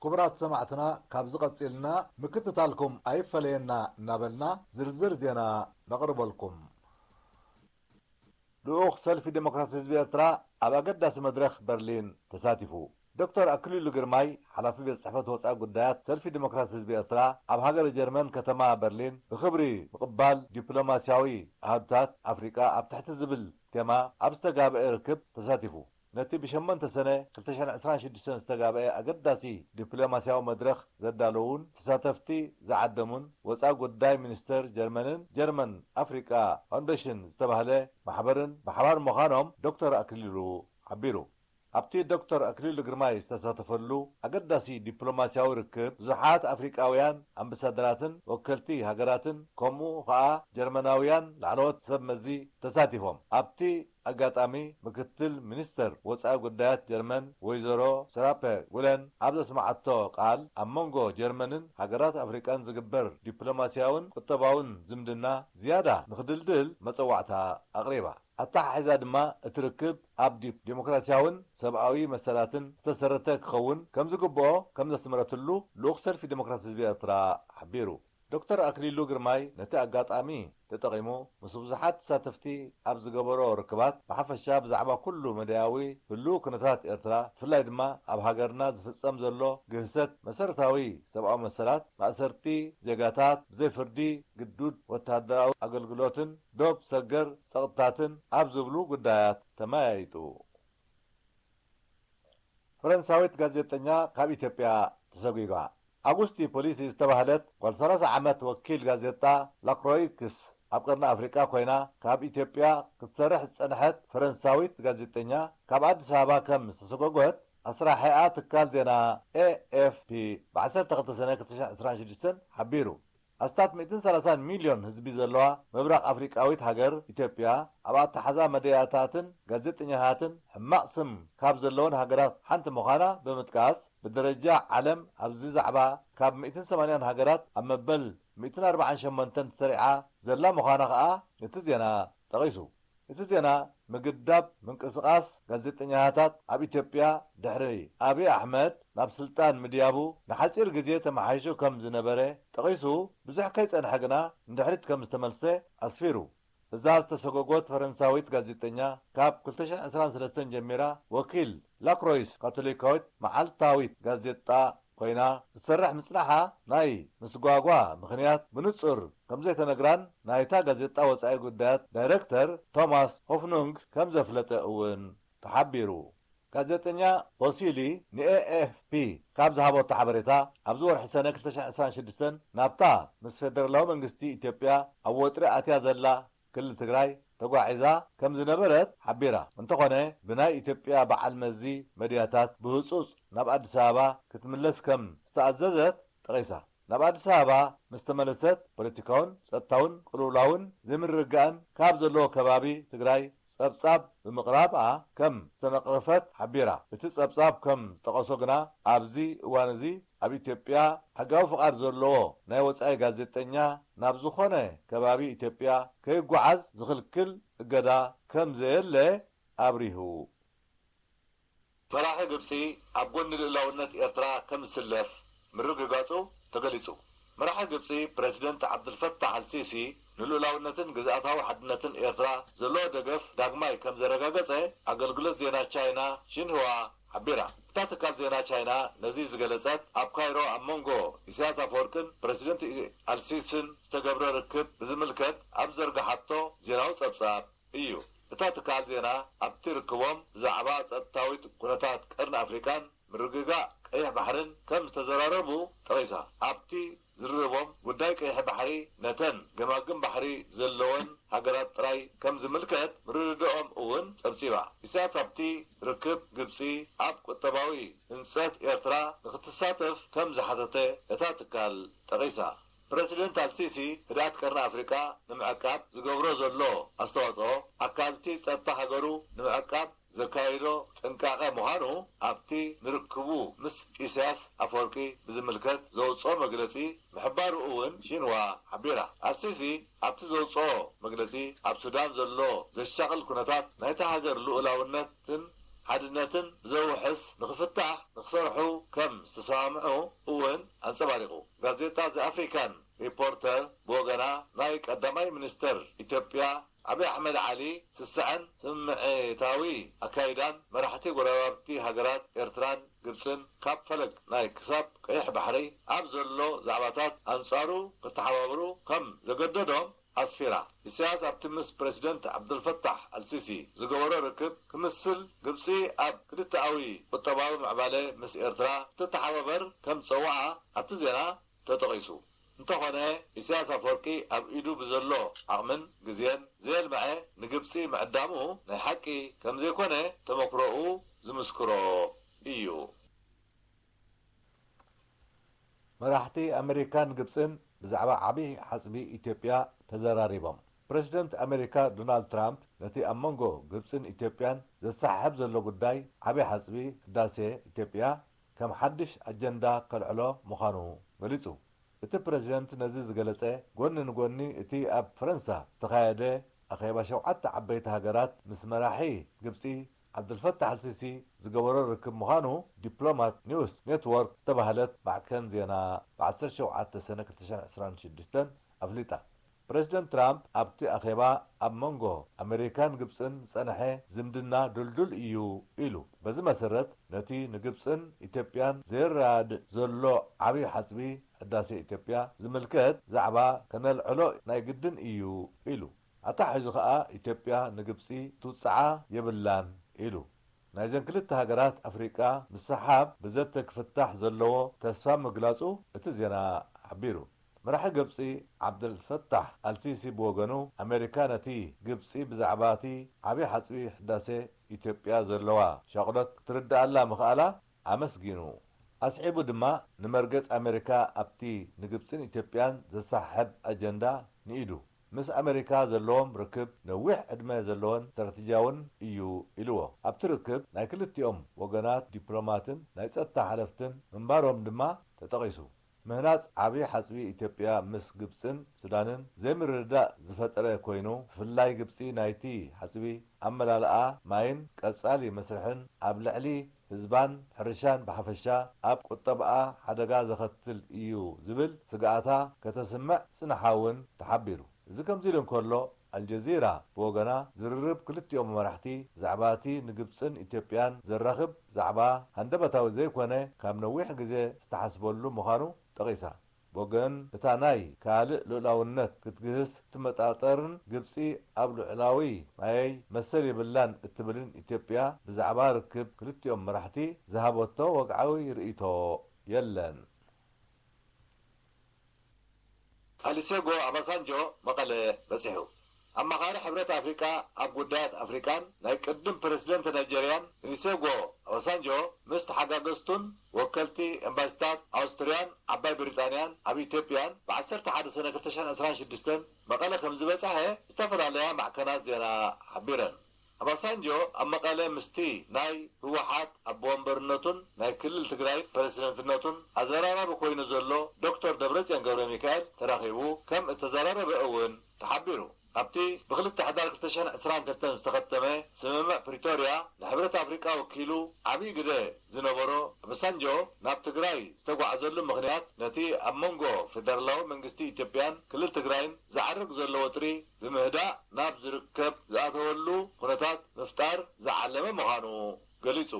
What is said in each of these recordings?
ክቡራት ሰማዕትና፣ ካብዚ ቀጺልና ምክትታልኩም ኣይፈለየና እናበልና ዝርዝር ዜና ነቕርበልኩም። ልኡኽ ሰልፊ ዴሞክራሲ ህዝቢ ኤርትራ ኣብ ኣገዳሲ መድረኽ በርሊን ተሳቲፉ። ዶክተር ኣክሊሉ ግርማይ፣ ሓላፊ ቤት ጽሕፈት ወጻኢ ጉዳያት ሰልፊ ዴሞክራሲ ህዝቢ ኤርትራ፣ ኣብ ሃገረ ጀርመን ከተማ በርሊን ብኽብሪ ምቕባል ዲፕሎማስያዊ ኣሃዱታት ኣፍሪቃ ኣብ ትሕቲ ዝብል ቴማ ኣብ ዝተጋብአ ርክብ ተሳቲፉ። ነቲ ብሸሞንተ ሰነ ክልተ ሽሕን ዕስራን ሽዱሽተን ዝተጋብአ ኣገዳሲ ዲፕሎማስያዊ መድረኽ ዘዳለዉን ተሳተፍቲ ዝዓደሙን ወጻኢ ጉዳይ ሚኒስተር ጀርመንን ጀርመን ኣፍሪቃ ፋውንዴሽን ዝተባህለ ማሕበርን ብሓባር ምዃኖም ዶክተር ኣክሊሉ ሓቢሩ። ኣብቲ ዶክተር ኣክሊሉ ግርማይ ዝተሳተፈሉ ኣገዳሲ ዲፕሎማስያዊ ርክብ፣ ብዙሓት ኣፍሪቃውያን ኣምባሳደራትን ወከልቲ ሃገራትን፣ ከምኡ ኸኣ ጀርመናውያን ላዕለዎት ሰብ መዚ ተሳቲፎም። ኣብቲ ኣጋጣሚ፣ ምክትል ሚኒስተር ወጻኢ ጉዳያት ጀርመን ወይዘሮ ሰራፐ ጉለን ኣብ ዘስመዓቶ ቃል፣ ኣብ መንጎ ጀርመንን ሃገራት ኣፍሪቃን ዝግበር ዲፕሎማስያውን ቁጠባውን ዝምድና ዝያዳ ንኽድልድል መጸዋዕታ ኣቕሪባ። ኣተሓሒዛ ድማ፣ እቲ ርክብ ኣብ ዲ-፣ ዲሞክራስያውን ሰብኣዊ መሰላትን ዝተሰረተ ክኸውን ከም ዝግብኦ ከም ዘስመረትሉ ልኡኽ ሰልፊ ዲሞክራሲ ህዝቢ ኤርትራ ሓቢሩ። ዶክተር ኣክሊሉ ግርማይ ነቲ ኣጋጣሚ ተጠቒሙ፣ ምስ ብዙሓት ተሳተፍቲ ኣብ ዝገበሮ ርክባት፣ ብሓፈሻ ብዛዕባ ኩሉ መዳያዊ ህሉው ኩነታት ኤርትራ፣ ብፍላይ ድማ ኣብ ሃገርና ዝፍጸም ዘሎ ግህሰት መሰረታዊ ሰብኣዊ መሰላት፣ ማእሰርቲ ዜጋታት፣ ብዘይ ፍርዲ ግዱድ ወተሃደራዊ ኣገልግሎትን ዶብ ሰገር ጸቕጥታትን ኣብ ዝብሉ ጉዳያት ተመያይጡ። ፈረንሳዊት ጋዜጠኛ ካብ ኢትዮጵያ ተሰጒጓ። ኣጉስቲ ፖሊሲ ዝተባህለት ጓል ሰላሳ ዓመት ወኪል ጋዜጣ ላክሮይክስ ኣብ ቀርኒ ኣፍሪቃ ኮይና ካብ ኢትዮጵያ ክትሰርሕ ዝጸንሐት ፈረንሳዊት ጋዜጠኛ፣ ካብ ኣዲስ ኣበባ ከም ዝተሰጎጎት ኣስራሒኣ ትካል ዜና ኤ ኤፍ ፒ ብ ዓሰርተ ክልተ ሰነ ክልተ ሽሕን ዕስራን ሽዱሽተን ሓቢሩ። ኣስታት ሚእትን ሰላሳን ሚልዮን ህዝቢ ዘለዋ ምብራቕ ኣፍሪቃዊት ሃገር ኢትዮጵያ፣ ኣብ ኣተሓዛ መደያታትን ጋዜጠኛታትን ሕማቕ ስም ካብ ዘለወን ሃገራት ሓንቲ ምዃና ብምጥቃስ፣ ብደረጃ ዓለም ኣብዚ ዛዕባ ካብ ሚእትን ሰማንያን ሃገራት ኣብ መበል ሚእትን ኣርባዓን ሸሞንተን ተሰሪዓ ዘላ ምዃና ከኣ እቲ ዜና ጠቒሱ። እቲ ዜና፣ ምግዳብ ምንቅስቓስ ጋዜጠኛታት ኣብ ኢትዮጵያ ድሕሪ ኣብይ ኣሕመድ ናብ ስልጣን ምድያቡ ንሓጺር ግዜ ተመሓይሹ ከም ዝነበረ ጠቒሱ፣ ብዙሕ ከይጸንሐ ግና ንድሕሪት ከም ዝተመልሰ ኣስፊሩ። እዛ ዝተሰጎጎት ፈረንሳዊት ጋዜጠኛ፣ ካብ ክልተ ሽሕን ዕስራን ሰለስተን ጀሚራ ወኪል ላክሮይስ ካቶሊካዊት መዓልታዊት ጋዜጣ ኮይና ክትሰርሕ ምጽናሓ፣ ናይ ምስጓጓ ምኽንያት ብንጹር ከም ዘይተነግራን ናይታ ጋዜጣ ወጻኢ ጉዳያት ዳይረክተር ቶማስ ሆፍኑንግ ከም ዘፍለጠ እውን ተሓቢሩ። ጋዜጠኛ ቦሲሊ ንኤ ኤፍ ፒ ካብ ዝሃበቶ ሓበሬታ፣ ኣብዚ ወርሒ ሰነ ክልተ ሽሕን ዕስራን ሽዱሽተን ናብታ ምስ ፌደራላዊ መንግስቲ ኢትዮጵያ ኣብ ወጥሪ ኣትያ ዘላ ክልል ትግራይ ተጓዒዛ ከም ዝነበረት ሓቢራ። እንተኾነ፣ ብናይ ኢትዮጵያ በዓል መዚ መድያታት ብህጹጽ ናብ ኣዲስ ኣበባ ክትምለስ ከም ዝተኣዘዘት ጠቒሳ። ናብ ኣዲስ ኣበባ ምስ ተመለሰት፣ ፖለቲካውን ጸጥታውን ቅልውላውን ዘይምርግጋእን ካብ ዘለዎ ከባቢ ትግራይ ጸብጻብ ብምቕራባ ከም ዝተነቕፈት ሓቢራ። እቲ ጸብጻብ ከም ዝጠቐሶ ግና፣ ኣብዚ እዋን እዚ ኣብ ኢትዮጵያ ሕጋዊ ፍቓድ ዘለዎ ናይ ወጻኢ ጋዜጠኛ ናብ ዝኾነ ከባቢ ኢትዮጵያ ከይጓዓዝ ዝኽልክል እገዳ ከም ዘየለ ኣብሪሁ። መራሒ ግብጺ ኣብ ጎኒ ልኡላውነት ኤርትራ ከም ዝስለፍ ምርግጋጹ ተገሊጹ። መራሒ ግብጺ ፕረዚደንት ዓብዱልፈታሕ ኣልሲሲ ንልኡላውነትን ግዝኣታዊ ሓድነትን ኤርትራ ዘለዎ ደገፍ ዳግማይ ከም ዘረጋገጸ ኣገልግሎት ዜና ቻይና ሺንሁዋ ሓቢራ። እታ ትካል ዜና ቻይና ነዚ ዝገለጸት፣ ኣብ ካይሮ ኣብ መንጎ ኢሳያስ ኣፈወርቅን ፕረዚደንት ኢ-፣ ኣልሲስን ዝተገብረ ርክብ ብዝምልከት ኣብ ዘርግሓቶ ዜናዊ ጸብጻብ እዩ። እታ ትካል ዜና ኣብቲ ርክቦም ብዛዕባ ጸጥታዊት ኩነታት ቀርኒ ኣፍሪቃን ምርግጋእ ቀይሕ ባሕርን ከም ዝተዘራረቡ ጠቒሳ። ኣብቲ ዝርርቦም፣ ጉዳይ ቀይሕ ባሕሪ ነተን ገማግም ባሕሪ ዘለወን ሃገራት ጥራይ ከም ዝምልከት ምርድዳኦም እውን ጸብጺባ። ኢሳያስ ኣብቲ ርክብ፣ ግብጺ ኣብ ቁጠባዊ ህንጸት ኤርትራ ንኽትሳተፍ ከም ዝሓተተ እታ ትካል ጠቒሳ። ፕረሲደንት ኣልሲሲ፣ ህድኣት ቀርኒ ኣፍሪቃ ንምዕቃብ ዝገብሮ ዘሎ ኣስተዋጽኦ፣ ኣካልቲ ጸጥታ ሃገሩ ንምዕቃብ ዘካይዶ ጥንቃቐ ምዃኑ ኣብቲ ንርክቡ ምስ ኢሳያስ ኣፈወርቂ ብዝምልከት ዘውጽኦ መግለጺ ምሕባሩ እውን ሺንዋ ሓቢራ። ኣልሲሲ ኣብቲ ዘውጽኦ መግለጺ፣ ኣብ ሱዳን ዘሎ ዘሻቕል ኩነታት ናይታ ሃገር ልኡላውነትን ሓድነትን ብዘውሕስ ንኽፍታሕ ክሰርሑ ከም ዝተሰማምዑ እውን ኣንጸባሪቑ። ጋዜጣ ዘ ኣፍሪካን ሪፖርተር ብወገና፣ ናይ ቀዳማይ ሚኒስተር ኢትዮጵያ ኣብይ ኣሕመድ ዓሊ ስስዐን ስምዒታዊ ኣካይዳን መራሕቲ ጎረባብቲ ሃገራት ኤርትራን ግብጽን ካብ ፈለግ ናይ ክሳብ ቀይሕ ባሕሪ ኣብ ዘሎ ዛዕባታት ኣንጻሩ ክተሓባበሩ ከም ዘገደዶም ኣስፊራ። ኢሳያስ ኣብቲ ምስ ፕረሲደንት ዓብደልፈታሕ ኣልሲሲ ዝገበሮ ርክብ ክምስል፣ ግብጺ ኣብ ክልተኣዊ ቁጠባዊ ምዕባለ ምስ ኤርትራ ክትተሓባበር ከም ዝጸውዓ ኣብቲ ዜና ተጠቒሱ። እንተኾነ፣ ኢሳያስ ኣፈወርቂ ኣብ ኢዱ ብዘሎ ዓቕምን ግዜን ዘየልምዐ ንግብጺ ምዕዳሙ ናይ ሓቂ ከም ዘይኮነ ተመክሮኡ ዝምስክሮ እዩ። መራሕቲ ኣመሪካን ግብጽን ብዛዕባ ዓቢ ሓጽቢ ኢትዮጵያ ተዘራሪቦም። ፕረሲደንት ኣመሪካ ዶናልድ ትራምፕ ነቲ ኣብ መንጎ ግብጽን ኢትዮጵያን ዘሰሓሕብ ዘሎ ጉዳይ ዓቢ ሓጽቢ ህዳሴ ኢትዮጵያ ከም ሓድሽ ኣጀንዳ ከልዕሎ ምዃኑ ገሊጹ። እቲ ፕረሲደንት ነዚ ዝገለጸ፣ ጎኒ ንጎኒ እቲ ኣብ ፈረንሳ ዝተኻየደ ኣኼባ ሸውዓተ ዓበይቲ ሃገራት ምስ መራሒ ግብጺ ዓብደልፈታሕ ኣልሲሲ ዝገበሮ ርክብ ምዃኑ ዲፕሎማት ኒውስ ኔትወርክ ዝተባህለት ማዕከን ዜና ብ ዓሰርተ ሸውዓተ ሰነ ክልተ ሽሕን ዕስራን ሽዱሽተን ኣፍሊጣ። ፕረሲደንት ትራምፕ ኣብቲ ኣኼባ፣ ኣብ መንጎ ኣመሪካን ግብጽን ዝጸንሐ ዝምድና ድልዱል እዩ ኢሉ። በዚ መሰረት፣ ነቲ ንግብጽን ኢትዮጵያን ዘየረዳድእ ዘሎ ዓቢ ሓጽቢ ህዳሴ ኢትዮጵያ ዝምልከት ዛዕባ ከነልዕሎ ናይ ግድን እዩ ኢሉ። ኣታሒዙ ከኣ፣ ኢትዮጵያ ንግብጺ ትውጽዓ የብላን ኢሉ። ናይዘን ክልተ ሃገራት ኣፍሪቃ ምስሕሓብ ብዘተ ክፍታሕ ዘለዎ ተስፋ ምግላጹ እቲ ዜና ሓቢሩ። መራሒ ግብጺ ዓብደልፈታሕ ኣልሲሲ ብወገኑ፣ ኣሜሪካ ነቲ ግብጺ ብዛዕባ እቲ ዓቢ ሓጽቢ ህዳሴ ኢትዮጵያ ዘለዋ ሻቕሎት ክትርድኣላ ምኽኣላ ኣመስጊኑ። ኣስዒቡ ድማ፣ ንመርገጽ ኣሜሪካ ኣብቲ ንግብጽን ኢትዮጵያን ዘሰሓሕብ ኣጀንዳ ንኢዱ። ምስ ኣሜሪካ ዘለዎም ርክብ ነዊሕ ዕድመ ዘለዎን ስትራተጂያውን እዩ ኢልዎ። ኣብቲ ርክብ ናይ ክልቲኦም ወገናት ዲፕሎማትን ናይ ጸጥታ ሓለፍትን ምንባሮም ድማ ተጠቒሱ። ምህናጽ ዓቢ ሓጽቢ ኢትዮጵያ ምስ ግብጽን ሱዳንን ዘይምርድዳእ ዝፈጠረ ኮይኑ፣ ብፍላይ ግብጺ ናይቲ ሓጽቢ ኣመላልኣ ማይን ቀጻሊ መስርሕን ኣብ ልዕሊ ህዝባን ሕርሻን ብሓፈሻ ኣብ ቁጠብኣ ሓደጋ ዘኸትል እዩ ዝብል ስግኣታ ከተስምዕ ጽንሓ እውን ተሓቢሩ። እዚ ከምዚ ኢሉ እንከሎ፣ ኣልጀዚራ ብወገና፣ ዝርርብ ክልቲኦም መራሕቲ ብዛዕባ እቲ ንግብጽን ኢትዮጵያን ዘራኽብ ዛዕባ ሃንደበታዊ ዘይኮነ፣ ካብ ነዊሕ ግዜ ዝተሓስበሉ ምዃኑ ጠቒሳ። ብወገን እታ ናይ ካልእ ልኡላውነት ክትግህስ እትመጣጠርን ግብጺ ኣብ ልዑላዊ ማየይ መሰል የብላን እትብልን ኢትዮጵያ፣ ብዛዕባ ርክብ ክልቲኦም መራሕቲ ዝሃበቶ ወግዓዊ ርእይቶ የለን። ኣሊሴጎ ኣባሳንጆ መቐለ በጺሑ። ኣማኻሪ ሕብረት ኣፍሪቃ ኣብ ጉዳያት ኣፍሪቃን ናይ ቅድም ፕረሲደንት ናይጀርያን ኦሊሴጎ ኣባሳንጆ ምስ ተሓጋገዝቱን ወከልቲ ኤምባሲታት ኣውስትርያን ዓባይ ብሪጣንያን ኣብ ኢትዮጵያን ብ ዓሰርተ ሓደ ሰነ ክልተ ሽሕን ዕስራን ሽዱሽተን መቐለ ከም ዝበጽሐ ዝተፈላለያ ማዕከናት ዜና ሓቢረን። ኣባሳንጆ ኣብ መቐለ ምስቲ ናይ ህወሓት ኣቦ ወንበርነቱን ናይ ክልል ትግራይ ፕረሲደንትነቱን ኣዘራራቢ ኮይኑ ዘሎ ዶክተር ደብረጽዮን ገብረ ሚካኤል ተራኺቡ ከም እተዘራረበ እውን ተሓቢሩ። ኣብቲ ብክልተ ሕዳር ክልተ ሽሕን ዕስራን ክልተን ዝተኸተመ ስምምዕ ፕሪቶርያ፣ ንሕብረት ኣፍሪቃ ወኪሉ ዓብዪ ግደ ዝነበሮ ኣባሳንጆ ናብ ትግራይ ዝተጓዕዘሉ ምኽንያት፣ ነቲ ኣብ መንጎ ፌደራላዊ መንግስቲ ኢትዮጵያን ክልል ትግራይን ዝዓርግ ዘሎ ወጥሪ ብምህዳእ ናብ ዝርከብ ዝኣተወሉ ኩነታት ምፍጣር ዝዓለመ ምዃኑ ገሊጹ።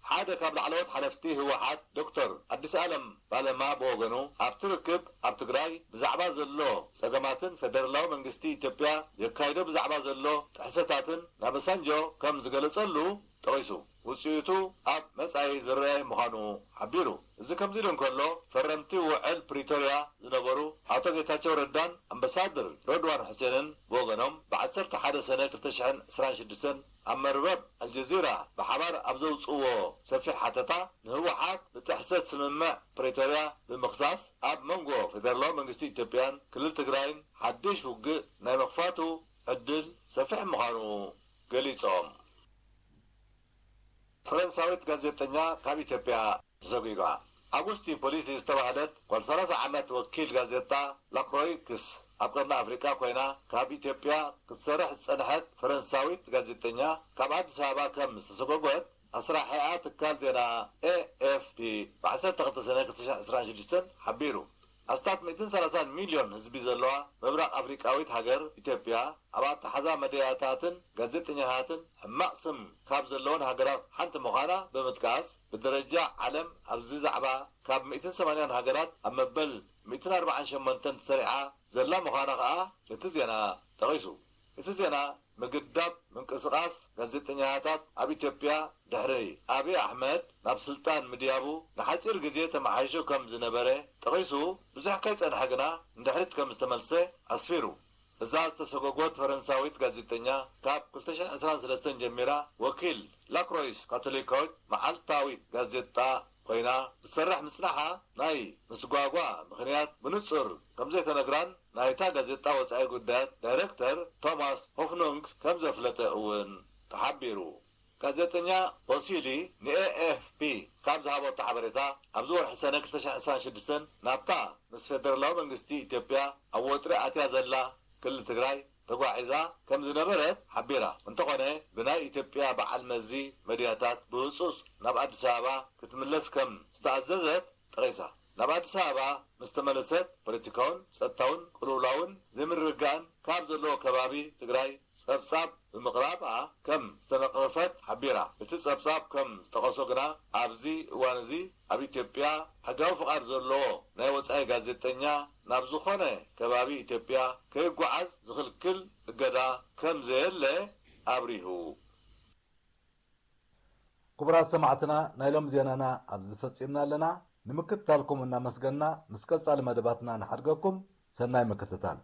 ሓደ ካብ ላዕለዎት ሓለፍቲ ህወሓት ዶክተር ኣዲስ ኣለም ባለማ ብወገኑ፣ ኣብቲ ርክብ ኣብ ትግራይ ብዛዕባ ዘሎ ጸገማትን ፌደራላዊ መንግስቲ ኢትዮጵያ የካይዶ ብዛዕባ ዘሎ ጥሕሰታትን ናበሳንጆ ከም ዝገለጸሉ ጠቒሱ፣ ውጽኢቱ ኣብ መጻኢ ዝረአ ምዃኑ ሓቢሩ። እዚ ከምዚ ኢሉ እንከሎ፣ ፈረምቲ ውዕል ፕሪቶርያ ዝነበሩ ኣቶ ጌታቸው ረዳን ኣምባሳደር ረድዋን ሑሴንን ብወገኖም፣ ብ ዓሰርተ ሓደ ሰነ ክልተ ሽሕን ዕስራን ሽዱሽተን ኣብ መርበብ ኣልጀዚራ ብሓባር ኣብ ዘውጽእዎ ሰፊሕ ሓተታ፣ ንህወሓት ብጥሕሰት ስምምዕ ፕሪቶርያ ብምኽሳስ፣ ኣብ መንጎ ፌደራላዊ መንግስቲ ኢትዮጵያን ክልል ትግራይን ሓድሽ ውግእ ናይ ምኽፋቱ ዕድል ሰፊሕ ምዃኑ ገሊጾም። ፈረንሳዊት ጋዜጠኛ ካብ ኢትዮጵያ ተሰጒጓ። ኣጉስቲን ፖሊሲ ዝተባህለት ጓል ሰላሳ ዓመት ወኪል ጋዜጣ ላክሮይክስ ኣብ ቀርኒ ኣፍሪቃ ኮይና ካብ ኢትዮጵያ ክትሰርሕ ዝጸንሐት ፈረንሳዊት ጋዜጠኛ፣ ካብ ኣዲስ ኣበባ ከም ዝተሰጎጎት ኣስራሒኣ ትካል ዜና ኤ ኤፍ ብ ዓሰርተ ክልተ ሰነ ክልተ ሽሕን ዕስራን ሽዱሽተን ሓቢሩ። ኣስታት ሚእትን ሰላሳን ሚልዮን ህዝቢ ዘለዋ ምብራቕ ኣፍሪቃዊት ሃገር ኢትዮጵያ፣ ኣብ ኣተሓዛ መድያታትን ጋዜጠኛታትን ሕማቕ ስም ካብ ዘለወን ሃገራት ሓንቲ ምዃና ብምጥቃስ፣ ብደረጃ ዓለም ኣብዚ ዛዕባ ካብ ሚእትን ሰማንያን ሃገራት ኣብ መበል ሚእትን ኣርባዓን ሸሞንተን ተሰሪዓ ዘላ ምዃና ከኣ እቲ ዜና ጠቒሱ። እቲ ዜና፣ ምግዳብ ምንቅስቓስ ጋዜጠኛታት ኣብ ኢትዮጵያ ድሕሪ ኣብይ ኣሕመድ ናብ ስልጣን ምድያቡ ንሓጺር ግዜ ተመሓይሹ ከም ዝነበረ ጠቒሱ፣ ብዙሕ ከይጸንሐ ግና ንድሕሪት ከም ዝተመልሰ ኣስፊሩ። እዛ ዝተሰጎጎት ፈረንሳዊት ጋዜጠኛ፣ ካብ ክልተ ሽሕን ዕስራን ሰለስተን ጀሚራ ወኪል ላክሮይስ ካቶሊካዊት መዓልታዊት ጋዜጣ ኮይና ክትሰርሕ ምጽናሓ፣ ናይ ምስጓጓ ምኽንያት ብንጹር ከም ዘይተነግራን ናይታ ጋዜጣ ወጻኢ ጉዳያት ዳይረክተር ቶማስ ሆፍኑንግ ከም ዘፍለጠ እውን ተሓቢሩ። ጋዜጠኛ ቦሲሊ ንኤኤፍፒ ካብ ዝሃበቶ ሓበሬታ፣ ኣብዚ ወርሒ ሰነ ክልተ ሽሕን ዕስራን ሽዱሽተን ናብታ ምስ ፌደራላዊ መንግስቲ ኢትዮጵያ ኣብ ወጥሪ ኣትያ ዘላ ክልል ትግራይ ተጓዒዛ ከም ዝነበረት ሓቢራ። እንተኾነ፣ ብናይ ኢትዮጵያ በዓል መዚ መድያታት ብህጹጽ ናብ ኣዲስ ኣበባ ክትምለስ ከም ዝተኣዘዘት ጠቒሳ። ናብ ኣዲስ ኣበባ ምስ ተመለሰት፣ ፖለቲካውን ጸጥታውን ቅልውላውን ዘይምርግጋእን ካብ ዘለዎ ከባቢ ትግራይ ጸብጻብ ብምቕራባ ከም ዝተነቐፈት ሓቢራ። እቲ ጸብጻብ ከም ዝጠቐሶ ግና፣ ኣብዚ እዋን እዚ ኣብ ኢትዮጵያ ሕጋዊ ፍቓድ ዘለዎ ናይ ወጻኢ ጋዜጠኛ ናብ ዝኾነ ከባቢ ኢትዮጵያ ከይጓዓዝ ዝኽልክል እገዳ ከም ዘየለ ኣብሪሁ። ክቡራት ሰማዕትና፣ ናይ ሎም ዜናና ኣብዚ ፈጺምና ኣለና። ንምክትታልኩም እናመስገንና፣ ምስ ቀጻሊ መደባትና ንሓድገኩም። ሰናይ ምክትታል።